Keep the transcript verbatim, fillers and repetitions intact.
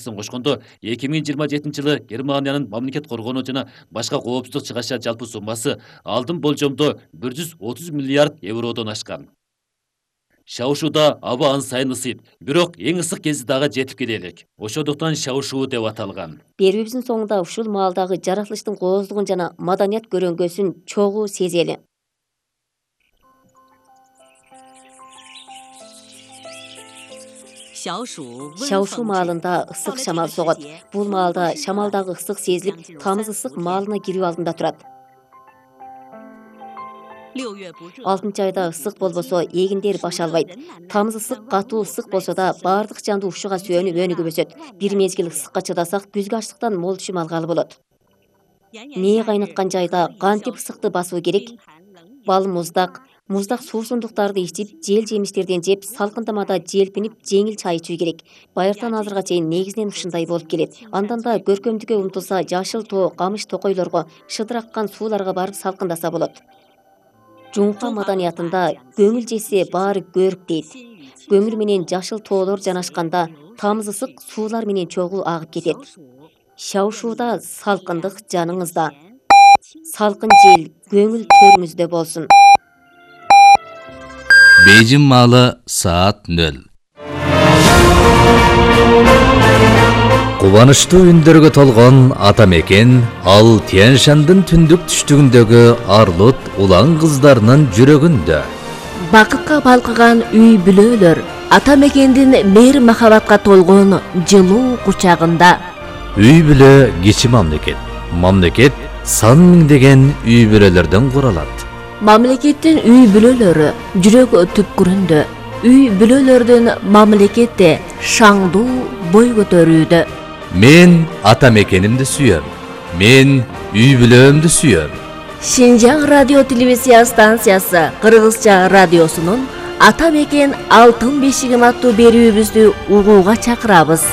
жартысын кошкондо эки миң жыйырма жетинчи жылы Германиянын мамлекет коргонуу жана башка коопсуздук чыгаша жалпы суммасы алдын болжомдо бир жүз отуз миллиард евродон ашкан. Шаушууда аба ан сайын ысыйт, бирок эң ысык кези дагы жетип келе элек. Ошондуктан шаушуу деп аталган. Берүүбүздүн соңунда ушул маалдагы жаратылыштын кооздугун жана маданият көрөнгөсүн чогуу сезели. Шаушуу маалында ысык шамал согот. Бул маалда шамалдагы ысык сезилип, тамыз ысык маалына кирүү алдында турат. алтынчы айда ысык болбосо эгиндер баш албайт. Тамыз ысык катуу ысык болсо да баардык жанды ушуга сүйөнүп өнүгүп өсөт. Бир мезгил ысыкка чыдасак, күзгү ачлыктан мол түшүм алгалы болот. Мээ кайнаткан жайда кантип ысыкты басуу керек? Бал муздак, муздак суусундуктарды ичип, жел жемиштерден жеп, салкындамада желпинип, жеңил чай ичүү керек. Байыртан азырга чейин негизинен ушундай болуп келет. Андан да көркөмдүккө умтулса, жашыл тоо, камыш токойлорго, шыдыраккан сууларга барып салкындаса болот. Жуңка маданиятында көңүл жесе баары көрүк дейт. Көңүл менен жашыл тоолор жанашканда тамыз ысык суулар менен чогуу агып кетет. Шаушууда салкындык жаныңызда. Салкын жел көңүл төрүңүздө болсун. Бейжин маалы саат нөл. Кубанычтуу үндөргө толгон ата мекен ал Тянь-Шандын түндүк түштүгүндөгү арлут улан кыздарынын жүрөгүндө. Бакытка балкыган үй бүлөлөр ата мекендин мейир махабатка толгон жылуу кучагында. Үй бүлө кичи мамлекет. Мамлекет сан миңдеген үй бүлөлөрдөн куралат. Мамлекеттин үй бүлөлөрү жүрөк түпкүрүндө. Үй бүлөлөрдүн мамлекетте шаңдуу бой көтөрүүдө. Мен ата мекенимди сүйөм. Мен үй бүлөмдү сүйөм. Шинжаң радио телевизия станциясы Кыргызча радиосунун Ата мекен алтын бешигим аттуу берүүбүздү угууга чакырабыз.